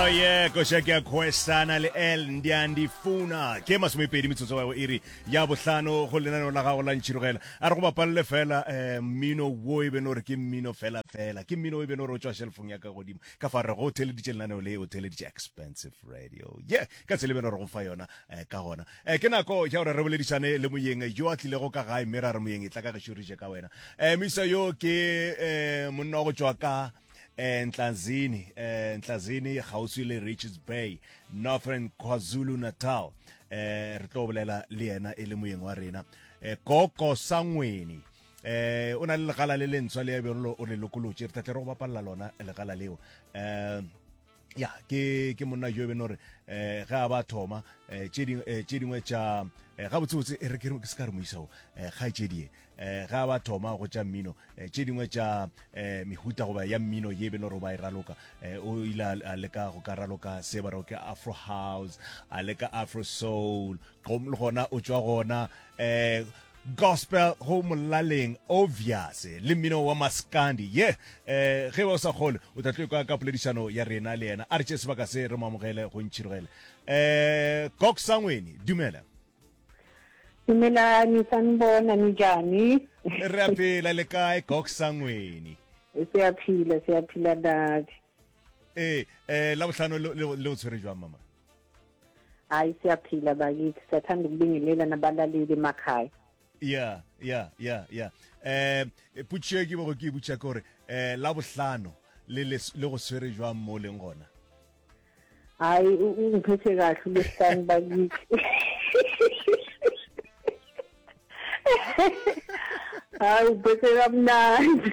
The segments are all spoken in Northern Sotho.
Oh yeah, koša ke ya Kwesana le L Ndiandifuna. Ke masomepedi metsotso wa iri ya bohlano go lenaneo la gago la ntšhirogela. A re go bapalele fela eh, mmino wo e beno re ke mmino fela fela. Ke mmino e beno re o tšwa shelfong ya ka godimo. Ka fa re go theleditše lenaneo le o theleditše expensive radio. Yeah, ka tsela e beno re go fa yona eh, ka gona. Eh, ke nako ya gore re boledišane le moyeng yo a tlilego ka gae mme ra re moyeng e tla ka gešo re je ka wena. Eh, moisa yo ke eh, monna wa go tšwa ka eh, Ntlazini, eh, Ntlazini kgauswi le Richards Bay, Northern KwaZulu Natal. Eh, re tlo bolela le yena e le moyeng wa rena. Eh, Koko Sangweni. Eh, o na le legala le lentshwa le bjalo o le lokolotše. Re tla tle re go bapalla lona legala leo. Eh, ya ke ke monna jo e beno gore eh ge a ba thoma eh tše dingwe eh, tše dingwe tša eh, gabotsebotse e re ke re se ka re moisa o eh kgaetšedie eh ge a ba thoma go tša mmino eh, tše dingwe tša eh mehuta goba ya mmino ye beno gore ba e raloka eh o ile a leka go ka raloka se ba rego ke afro house a leka afro soul le gona o tšwa gona eh Gospel go molaleng obvious le mmino wa maskandi ye eh ge o sa kgole o tla tlo kwa ka poledišano ya rena le yena a re tše sebaka se re mo amogele go ntšhirogele eh Kok Sangweni dumela. Dumelani sanibona ninjani? Re a phela le kae Kok Sangweni? Siyaphila siyaphila nathi. Eh eh la bohlano le o tshwere jwang mama? Hayi siyaphila bakithi siyathanda ukubingelela nabalaleli emakhaya. Ya ya ya ya eh potšišo e ke bego ke e botša ke gore eh la bohlano le le le go swere jwang mo leng gona? Hayi ungiphethe kahle ulesihlanu bakithi. Hayi uphethe kamnandi.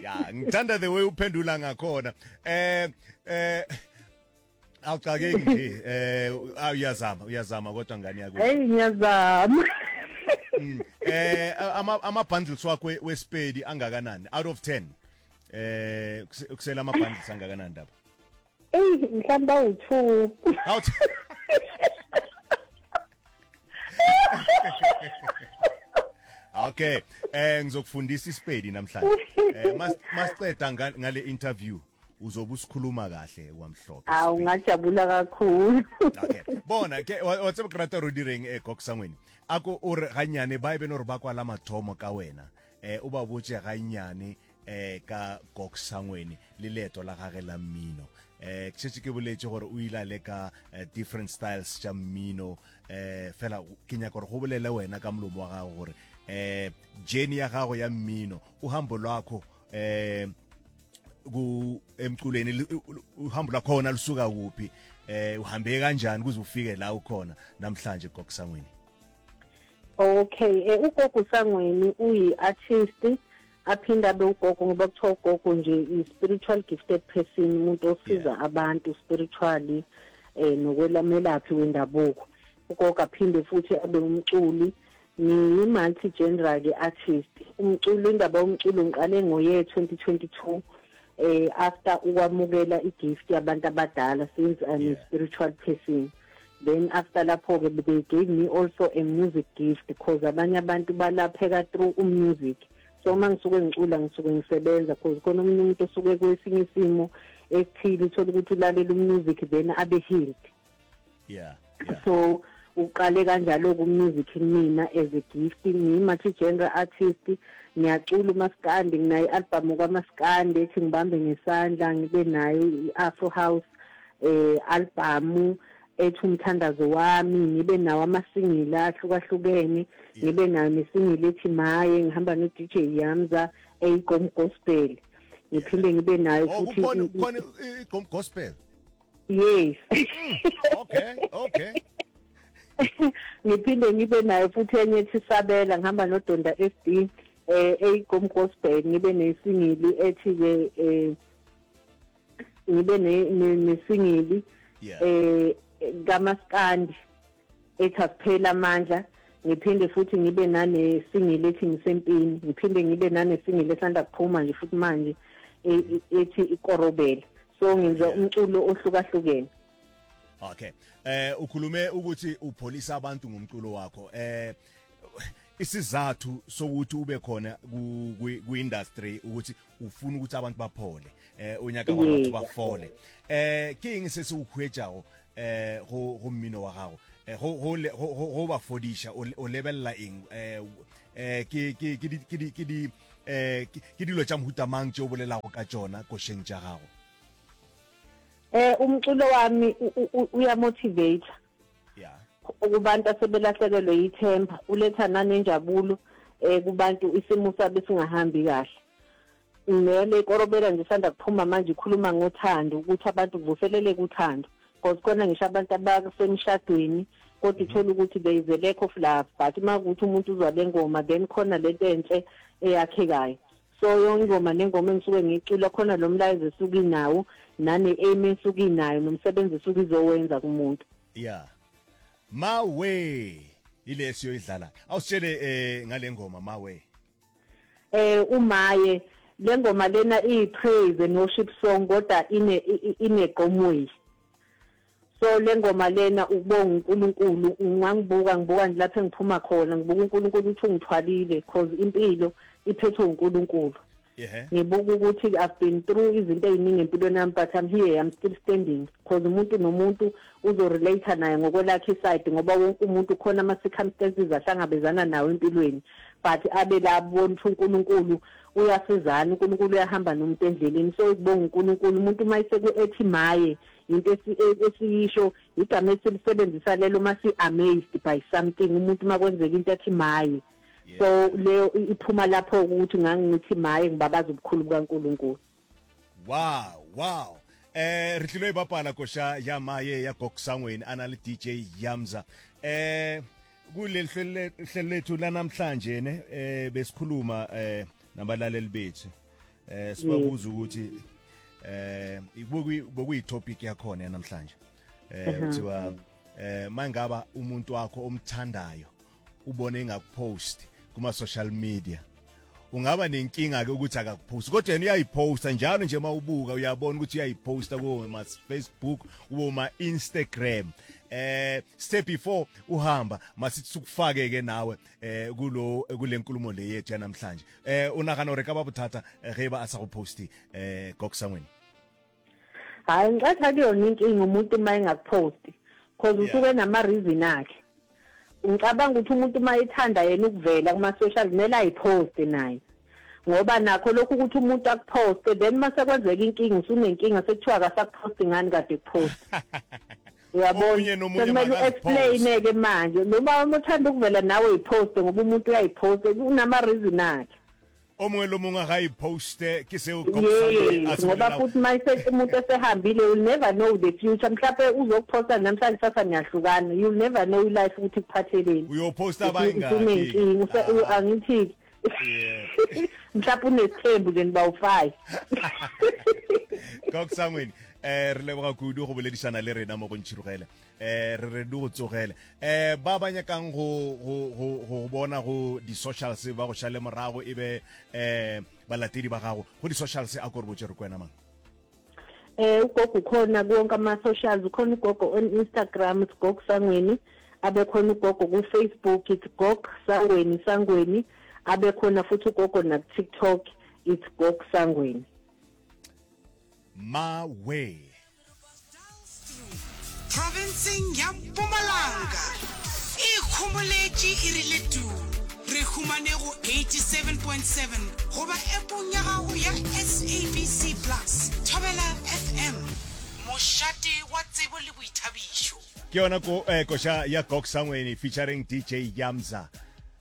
Ya ngithanda the way uphendula ngakhona. Eh eh Awuxakeki nje eh uyazama uyazama kodwa ngane yakwethu. Hey ngiyazama. Mm. Eh ama ama bundles wakho wesipedi angakanani out of 10? Eh kusela ama bundles angakanani ndaba? Ey mhlawumbe awu2. Out. Okay, eh ngizokufundisa isipedi namhlanje. Eh masiceda ngale interview uzobe usikhuluma kahle kwamhlophe. Awu ngajabula kakhulu. Okay. Bona ke wa tseba ke rata ro direng e Koksangweni. Ako o re ganyane ba e beno re ba kwa la mathomo ka wena. Eh o ba botse ganyane eh ka Koksangweni le leeto la gage la mmino. Eh ke šetše ke boletše gore o ile a leka eh, different styles tša mmino eh fela ke nyaka gore go bolele wena ka molomo wa gago gore eh journey ya gago ya mmino uhambo lwakho eh ku emculweni uhambo lwakhona lusuka kuphi eh uhambe kanjani kuze ufike la ukhona namhlanje Gogo Sangweni? Okay, eh, uGogo Sangweni uyi-artist aphinde abe ugogo ngoba kuthiwa ugogo nje i-spiritual gifted person umuntu osiza yeah. abantu spiritually eh nokwelamelaphi wendabuko ugogo aphinde futhi abe umculi ngiyi-multi genre ke artist umculo indaba yomculo ngiqale ngoye 2022 eh after ukwamukela igift yabantu abadala since I'm yeah. a spiritual person then after lapho ke they gave me also a music gift because abanye abantu balapheka through umusic so uma ngisuke ngicula ngisuke ngisebenza because khona omunye umuntu osuke kwesinye isimo esithile uthole ukuthi ulalela umusic then abe healed yeah, yeah. so uqale kanjalo ku-music kumina as a gift ngiyi-multi genre artist ngiyacula umaskandi nginayo i-albhamu kamaskandi ethi ngibambe ngesandla ngibe nayo i-afro house eh albhamu ethi umthandazo wami ngibe nawo amasingili ahlukahlukene ngibe nayo nesingili ethi maye ngihamba no-DJ Yamza eyigqom gospel ngiphinde ngibe nayo oh, futhi kukhona igqom gospel yes mm, okay okay ngiphinde ngibe nayo futhi enye ethi sabela ngihamba nodonda SD eh eyigqom gospel ngibe nesingili ethi ke eh ngibe nesingili eh kamaskandi ethi akuphela amandla ngiphinde futhi ngibe nanesingili ethi ngisempini ngiphinde ngibe nanesingili esanda kuphuma nje futhi manje e, e, ethi ikorobela so ngenza umculo ohlukahlukene okay eh ukhulume ukuthi upholisa abantu ngomculo wakho eh. Isizathu sokuthi ube khona ku industry ukuthi ufuna ukuthi abantu baphole eh o nyaka gore batho ba fole. Eh ke eng se se o huetšago eh go go mmino wa gago? Eh, go go go go ba fodiša o lebelela eng? Eh eh ke ke ke di ke di eh ke dilo tša mohuta mang tše o bolelago ka tšona košeng tša gago? Eh umculo wami uya motivate. Yeah. Kubantu asebelahlekelwe yithemba, uletha nanenjabulo eh kubantu isimo sabo singahambi kahle. Nele korobela nje sanda kuphuma manje ikhuluma ngothando ukuthi abantu kuvuseleleke uthando. Because khona ngisho abantu abasemshadweni kodwa uthola ukuthi there is a lack of love but uma kuthi umuntu uzwa le ngoma then khona lento enhle eyakhekayo. So yonke ingoma nengoma engisuke ngiyicula khona lo mlayezo esuke inawo nane aim esuke inayo nomsebenzi esuke izowenza kumuntu. Yeah. Mawe ile siyoyidlala. Awusitshele eh ngale ngoma Mawe. Eh umaye lengoma lena iyi praise and worship song kodwa ine ineqomwe. So lengoma lena ukubonga uNkulunkulu ungangibuka ngibuka nje lapho engiphuma khona ngibuka uNkulunkulu ukuthi ungithwalile cause impilo iphethwe uNkulunkulu. Yeah. Ngibuka ukuthi I've been through izinto eziningi empilweni yami but I'm here I'm still standing cause umuntu nomuntu uzorelate naye ngokwelakhe iside ngoba wonke umuntu khona ama circumstances ahlangabezana nawo empilweni but abe la bona ukuthi uNkulunkulu uyasizana uNkulunkulu uyahamba nomuntu endleleni so ukubonga uNkulunkulu umuntu uma eseku ethi maye Into esiyisho igama esilisebenzisa lelo uma si-amazed by something umuntu uma kwenzeka into athi maye so leyo iphuma lapho ukuthi ngangithi maye ngibabaza ubukhulu bukaNkulunkulu. Wow wow eh re tlilo e bapala kosha ya maye ya Goksangweni ana le DJ Yamza eh kuleli hlelo lethu lanamhlanje ne eh besikhuluma eh nabalaleli bethu eh sibabuza ukuthi eh bokuyi topic yakhona namhlanje eh kuthiwa eh mangaba umuntu wakho omthandayo ubone engakupost kuma social media ungaba nenkinga ke ukuthi akakupost kodwa yena uyayiposta njalo nje mawubuka uyabona ukuthi uyayiposta ku ma Facebook kubo ma Instagram eh step before uhamba masithi sukufake ke nawe eh kulo kulenkulumo le yethu yanamhlanje eh unagana gore ka ba bothata eh, ge ba a sa go posti eh goksangweni Hayi ngicathi akuyona inkinga umuntu uma engakuposti cause usuke enama reason akhe. Ngicabanga ukuthi umuntu uma ethanda yena ukuvela kuma social kumele ayiposte naye. Ngoba nakho lokhu ukuthi umuntu akuposte then mase kwenzeka inkinga usunenkinga sekuthiwa akasakuposti ngani kade kuposta. Uyabona sekumele u-explain ke manje noma uma uthanda ukuvela nawe uyiposte ngoba umuntu uyayiposta unama reason akhe. O mongwe le mongwe ga iposte ke seo Yes, ngoba futhi mayise umuntu esehambile you'll never know the future mhlawumbe uzokuphosta namhlanje sasa niyahlukana you'll never know life ukuthi kuphatheleni uyoposta abayingaki usunenkinga ah. angithi mhlawumbe unesithembu nje niba u-five Goksangweni eh re leboga kudu go boledišana le rena mo go ntšhirogele eh re re di go tsogele eh ba ba nyakang go go go go bona go di socials ba go šale morago e be eh balatedi ba gago go di socials a ko re botse re kwena mang Eh ugogo ukhona kuwonke ama socials ukhona ugogo on Instagram it's Gog Sangweni abe khona ugogo ku Facebook it's Gog Sangweni Sangweni abe khona futhi ugogo na ku TikTok it's Gog Sangweni Mawe Profenseng ya Mpumalanga e ikhomoletše e rile tuu. Re humane go 87.7 goba appong ya gago ya SABC Plus. Thobela FM, mošate wa tsebo le boithabišo. Ke yona ko eh, koša ya Gok Sangweni featuring DJ Yamza.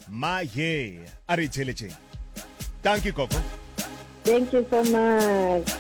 Maye, a re itheeletšeng. Thank you Gogo. Thank you so much.